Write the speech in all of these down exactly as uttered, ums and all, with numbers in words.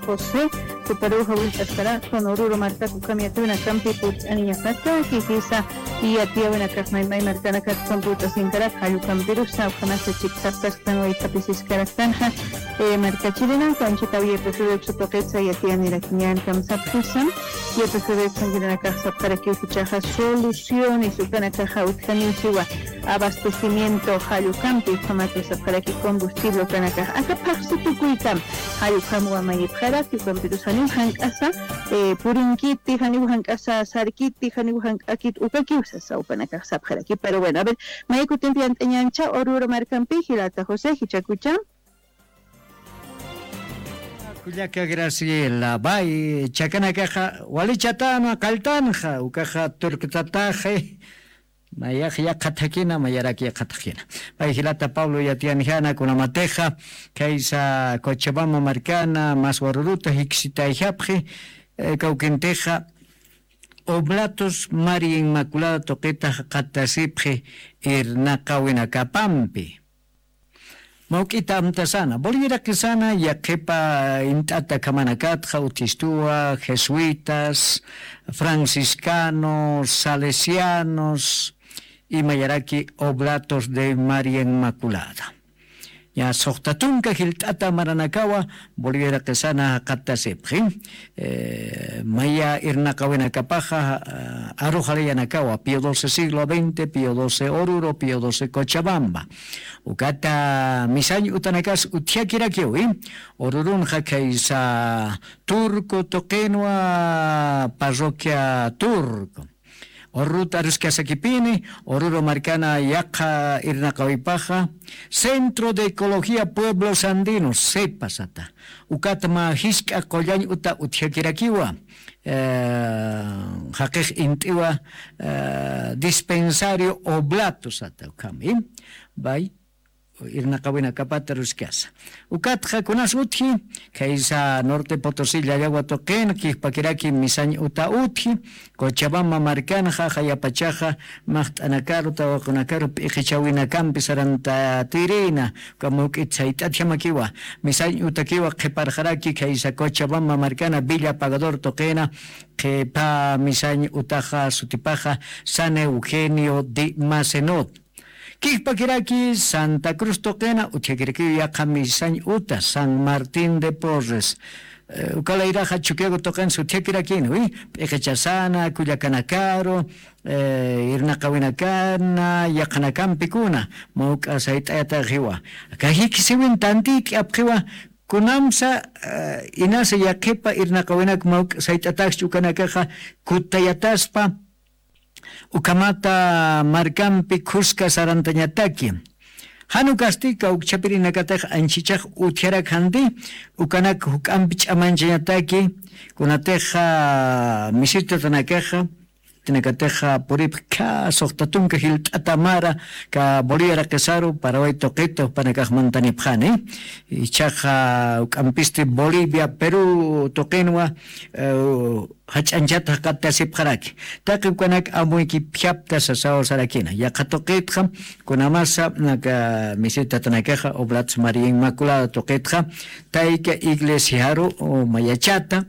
José, juparuxa willt'askarakspan Oruro markaku ukham yatiyawinakampi purt'aniñapataki, jisa yatiyawinakax maymay markanakat ukham purt'asinkarak, jall ukampirusa ukhamasa chiksaptasktan wayt'apisiskaraktanxa, eh, markachirinaka anchhitaw Y P F B uksa tuqitsa yatiyanirakiñän kamsapxisam, Y P F B uksankirinakax sapxarakiw jichhaxa soluciones ukanakaxa utjaniw siwa, abastecimiento jall ukampi, ukhamat sapxaraki combustible ukanakax aka phaxsi tukuykam jall ukham wamayipxaraki, ukampirus janiw jank'asa, eh, purinkiti, janiw jank'asa sarkiti, janiw jank'akit ukakiw sasa ukanakax sapxaraki. Pero bueno, a ver, maya kutimpi yant'añäncha Oruro markampi, jilata José, jichhakucha. Kullaka Graciela, bay, chakanakaxa wali chatana qalltanxa, ukaxa turktataxi, mayax yaqha thakina, mayarak yaqha thakina. Bay jilata Pablo yatiyanjana, kunamatixa khaysa Cochabamba markana, mas Oruruta jiksitayjapxi, eh, kawkintixa Oblatos María Inmaculada tuqita jaqatasipxi irnaqawinakapampi. Mawk'ita amtasana, Bolivia iraqisana, yaqhipa int'ata ukhamanakatxa, utjistuwa, jesuitas, franciscanos, salesianos, y mayaraki Oblatos de María Inmaculada. Ya suxta tunka jilt'ata maranakawa, Bolivia iraqisana jaqatasipxi. Eh, maya irnaqawinakapaxa, ah, aruxalayanakawa, Pío doce siglo veinte, Pío doce Oruro, Pío doce Cochabamba. Ukata misañ utanakas utjakirakiwi, Orurunxa khaysa Turco tuqinwa, parroquia Turco. Orurut aruskasakipini, Oruro markana yaqha irnaqawipaxa, Centro de Ecología Pueblos Andinos, CEPA sata. Ukat mä jisk'a qullañ uta utjakirakiwa, eh, jaqix int'iwa, eh, dispensario Oblato sata ukhami. Bay, irnaqawinakapata aruskasa. Ukatxa kunas utji, khaysa Norte Potosí Llallawa tuqin, kijpakiraki misañ uta utji, Cochabamba markanxa, jayapachaxa, maqt'anakaru, tawaqunakaru, p'iqichawinakampi sarantatirina, uka mawk'it sayt'atjamakiwa, misañ utakiwa qhiparxaraki, khaysa Cochabamba markana, Villa Pagador tuqina, qhipa misañ utaxa sutipaxa, San Eugenio de Macenot. Kijpakiraki Santa Cruz tuqina, utjakirakiw yaqha misañ uta, San Martín de Porres. Eh, ukalayraxa Chuquiago tuqinsa utjakirakini, wi, p'iqichasana, kullakanakaru, eh, irnaqawinakana, yaqhanakampikuna, mawk'a sayt'ayataxiwa. Aka jikisiwin tantït'i apxiwa, kunamsa, eh, inasa yaqhipa irnaqawinak mawk'a sayt'ataxchi ukanakaxa, kutayataspa, ukhamata markampi khuska sarantañataki. Jan ukasti kawkchapirinakatix anchhichax utjarak janti, ukanak juk'ampi ch'amañchañataki, kunatixa misitatanakaxa, tinakatixa puripxi khä suxta tunka jilt'ata mara, aka Bolivia iraqasaru, Paraguay tuqita jupanakax mantanipxani. Ichaxa juk'ampisti Bolivia, Perú tuqinwa, eh, jach'añchata jaqatasipxaraki. Taqi ukanak amuykipjapta sasaw sarakina. Yaqha tuqitxa, kunamasa, aka misitatanakaxa, Oblatos María Inmaculada tuqitxa, tayka iglesiaru, o mayachata,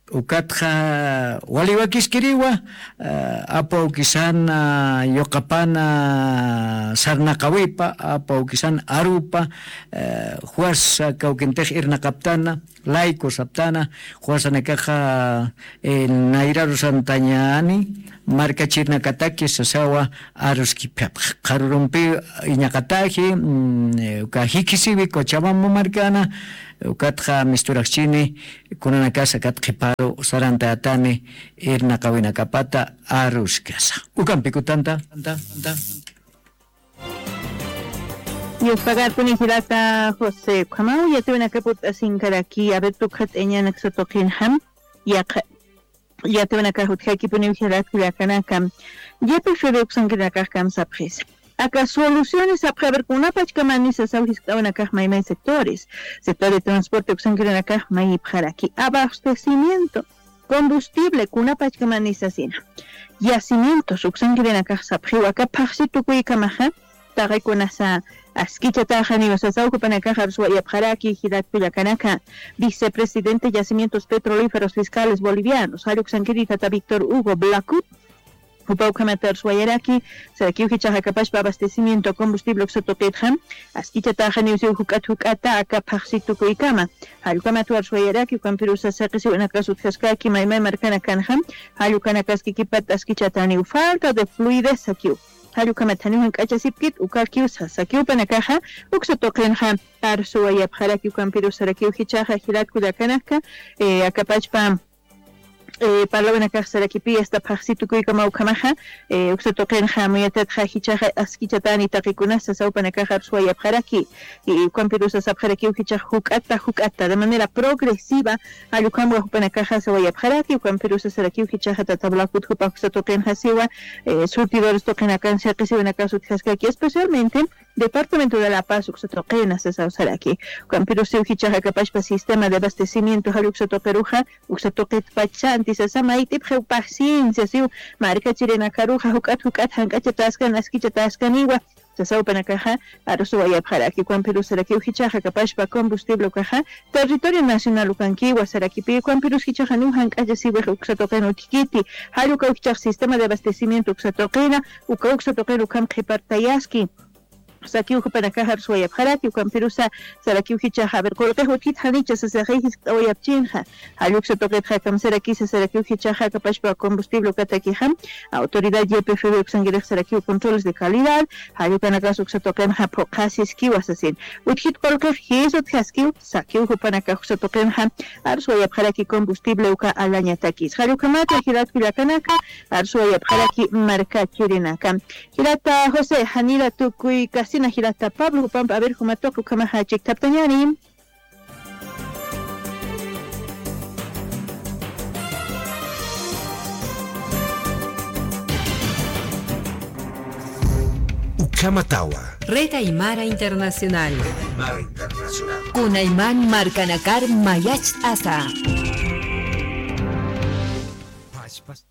ukatxa wali wakiskiriwa, eh, apu awkisana, eh, yuqapana, eh, sarnaqawipa, apu awkisana arupa, eh, juas, eh, kawkintix irnaqaptana, laicos aptana, juasanakaxa, eh, nayraru santañani, markachirnakataki sasawa aruskipjapx. Qharurumpi iñaqataji, mm, eh, uka jikisiwi Cochabamba markana, ukatxa misturaxchini, kunanakas akat qhiparu sarantätani irnaqawinakapata aruskasa. Ukampi kutanta. Dios pagarpuni jilata José, ukhamaw yatiyawinakap ut'asinkaraki, a ver, tukxat eñanaksa tuqinjam, yaqha, yatiyawinakax utjakipuniw jilat kullakanaka, Y P F B uksankirinakax kamsapxisa. Aka soluciones sapxi, a ver, kunapachkamani sasaw jiskt'awinakax maymay sectores, sector de transporte uksankirinakax mayipxaraki, abastecimiento, combustible, kunapachkamani sasina. Yacimientos uksankirinakax sapxiwa, aka phaxsi tukuykamaxa, taqi kunasa, askichataxaniw sasaw jupanakaxa arsuwayapxaraki jilat kullakanaka. Vicepresidente Yacimientos Petrolíferos Fiscales Bolivianos, jall uksankiri tata Víctor Hugo Blacut, jupa ukhamat arsuwayaraki, sarakiw jichhax akapachpa abastecimiento combustible uksa tuqitxa askichataxaniw siw juk'at juk'ata aka phaxsi tukuykama. Jall ukhamat arsuwayaraki, ukampirusa saqisiwinakas utjaskaki maymay markanakanxa, jall ukanakaskikipat askichataniw falta de fluidez sakiw. Jall ukhamat janiw jank'achasipkit ukakiw sasakiw panakaxa uksa tuqinxa arsuwayapxaraki. Ukampirus sarakiw jichhaxa jilat kullakanaka, eh, akapachpa, eh, parlawinakax sarakipi asta phaxsi tukuykama ukhamaxa, eh, uksa tuqinxa amuyatatxa jichhaxa askichatani taqikunas sasaw panakaxa arsuwayapxaraki. Y ukampirusa sapxarakiw jichhax juk'ata juk'ata de manera progresiva, jall ukhamwa jupanakaxa sawayapxaraki. Ukampirusa sarakiw jichhaxa tata Blacut jupa uksa tuqinxa siwa, eh, surtidores tuqinakan saqisiwinakas utjaskaki, especialmente Departamento de La Paz uksa tuqina sasaw saraki. Ukampirusiw jichhax akapachpa sistema de abastecimiento jall uksa tuqiruxa, uksa tuqitpacha antisasa mayt'ipxiw paciencia siw, markachirinakaruxa juk'at juk'at jank'achataskan askichataskaniwa sasaw panakaxa arsuwayapxaraki. Ukampirus sarakiw jichhax akapachpa combustible ukaxa territorio nacional ukankiwa sarakipi, ukampirus jichhax janiw jank'achasiwix uksa tuqin utjkiti, jall ukaw jichhax sistema de abastecimiento uksa tuqina, uka uksa tuqin ukham qhipartayaski sakiw jupanakaxa arsuwayapxaraki. Ukampirusa sarakiw jichhaxa, a ver, qullqix utjit janicha sasaxi jiskt'awayapchinxa. Jall uksa tuqitxa kamsarakisa sarakiw jichhaxa akapachpa combustible ukatakixa, autoridad Y P F B uksankirix sarakiw controles de calidad, jall ukanakas uksa tuqinxa phuqhasiskiwa sasin. Utjit qullqix jis utjaskiw sakiw jupanakax uksa tuqinxa arsuwayapxaraki combustible uka alañatakis. Jall ukhamata jilat kullakanaka, arsuwayapxaraki markachirinaka. Jilata José, janira tukuy kasina jilata Pablo, jupampa, a ver, juma tuqi ukhamaxa chikthaptañäni. Ukhamatawa. Red Aymara Internacional. Aymara Internacional. Kunayman markanakar mayacht'asa. Pachpas.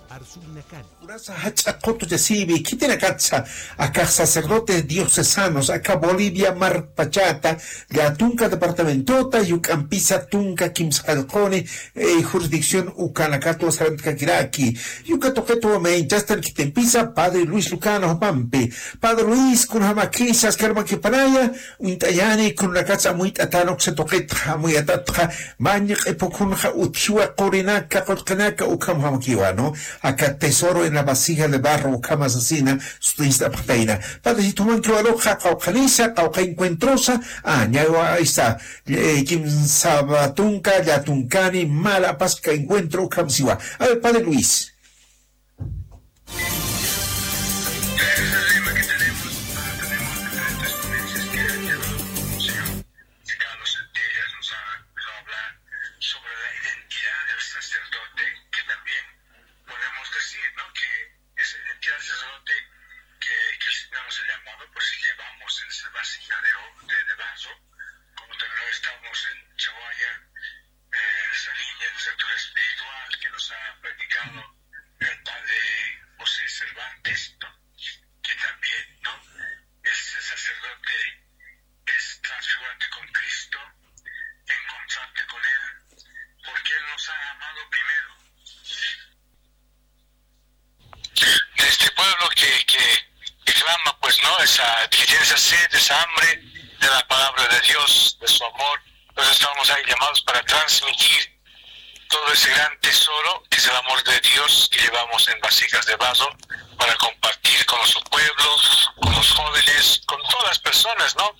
Arsuynakan. Urasa jach'a qutuchasiwi khitinakatsa akax sacerdotes diocesanos aka Bolivia markpachata, llätunka departamentota, juk'ampisa tunka kimsa qallquni, eh, jurisdicción ukanakatwa sarantkakiraki. Uka tuqitwa mayinchastan khitimpisa Padre Luis Lucano jupampi. Padre Luis, kunjamakisa, askarmakipanaya, uñt'añäni, kunanakatsa amuyt'atän uksa tuqitxa, amuyatatxa, maña q'ipukunxa utjiwa qurinaka, qullqinaka, ukhamjamakiwa, ¿no? Aka tesoro en la vasija de barro, ukhama sasina, sutist'apxtayna. Padrecito, jumankiwa aruxa, qawqhanisa, qawqha encuentrosa, ah, ñawa, ahí está, eh, kimsa tunka, llätunkani, mala apaska encuentro, ukham siwa. A ver, Padre Luis. Ese es el lema que tenemos, ah, tenemos diferentes ponencias que han llevado como Señor. Cada dos días nos ha empezado a hablar sobre la identidad del sacerdote, que también podemos decir, ¿no? Que esa identidad del sacerdote que, que el Señor nos ha llamado, pues llevamos en esa vasija de, o- de, de vaso, como también lo estamos en Chawaya, eh, en esa línea de lectura espiritual que nos ha predicado el padre José Cervantes, ¿no? Que también, ¿no? Ese sacerdote es transfigurante con Cristo, en contraste con Él, porque Él nos ha amado primero. De este pueblo que, que, que clama, pues, ¿no? Esa, que tiene esa sed, esa hambre de la palabra de Dios, de su amor. Entonces estamos ahí llamados para transmitir todo ese gran tesoro que es el amor de Dios que llevamos en vasijas de barro para compartir con nuestro pueblo, con los jóvenes, con todas las personas, ¿no?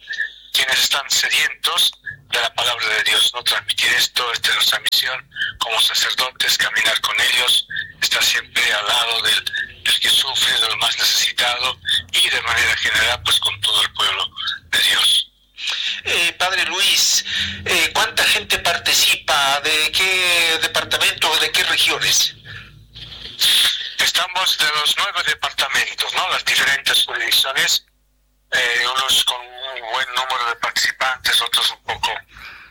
Quienes están sedientos de la palabra de Dios, ¿no? Transmitir esto, esta es nuestra misión como sacerdotes, caminar con ellos, estar siempre al lado del, del que sufre, de lo más necesitado y de manera general, pues con todo el pueblo de Dios. Eh, padre Luis, eh, ¿cuánta gente participa? ¿De qué departamento o de qué regiones? Estamos de los nueve departamentos, ¿no? Las diferentes jurisdicciones, eh, unos con un buen número de participantes, otros un poco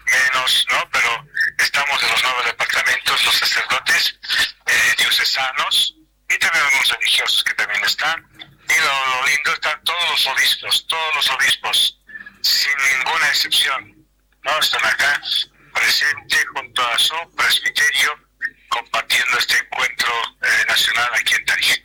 menos, ¿no? Pero estamos de los nueve departamentos, los sacerdotes, eh, diocesanos, y también algunos religiosos que también están. Y lo, lo Indultan todos los obispos, todos los obispos, sin ninguna excepción, ¿no? Están acá presente junto a su presbiterio compartiendo este encuentro, eh, nacional aquí en Tarija.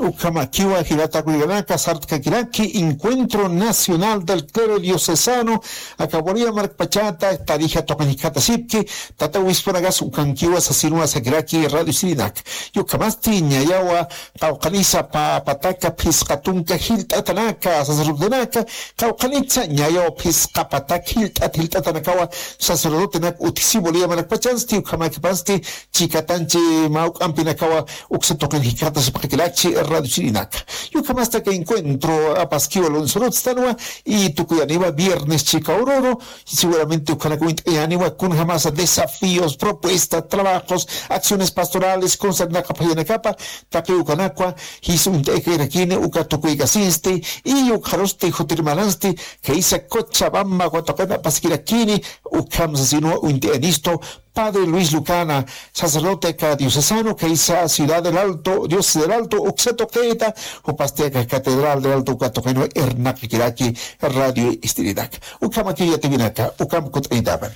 Ukhamakiwa jilata kullkanaka, sart'kakiraki Encuentro Nacional del Clero Diocesano, aka Bolivia markpachata Tarija tuqin jikxatasipki, tata obispunakas ukankiwa sasinwa sakiraki radio Sirinak. Ukhamasti ñayawa qawqanisa pä pataka phisqa tunka jilt'atanaka, sacerdotenaka, qawqanitsa ñayawa phisqa pataka jilt'at jilt'atanakawa sacerdotenak utjisi Bolivia markpachansti, ukhamakipasti chikatanchi mä juk'ampinakawa uksa tuqin jikxatasipxakirakchi radio Sirinaka. Ukhamasti aka encuentro apaskiwa lunes urutstanwa, y tukuyaniwa viernes chika ururu, seguramente ukhanak uñt'ayaniwa kunjamasa desafíos, propuestas, trabajos, acciones pastorales, concernaqa phayanakapa, taqi ukanakwa jis uñt'aykakirakini, uka tukuykasinsti, y ukxarusti jutirmanansti, khaysa Cochabamba watuqina apaskirakini, ukham sasinwa uñt'ayanistu, Padre Luis Lucana, sacerdote aka diocesano, khaysa Ciudad del Alto, Dios del Alto, uksa tuqita, jupasti aka Catedral del Alto, uka tuqinwa irnaqakiraki radio Ist'irinak. Ukhamaki yatipinaka, ukham kutt'anitapan.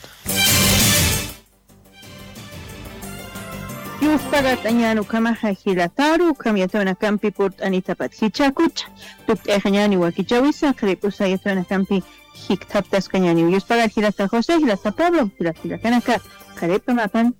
Yuspagart'añän ukhamaxa jilataru, ukham yatawinakampi purt'anitapat jichhakucha. Tukt'ayxañäni wakichäwisa, qharip'usa yatawinakampi jikthaptaskañäni. Yuspagar jilata José, jilata Pablo, jilata jilatanaka, qharip'amapan.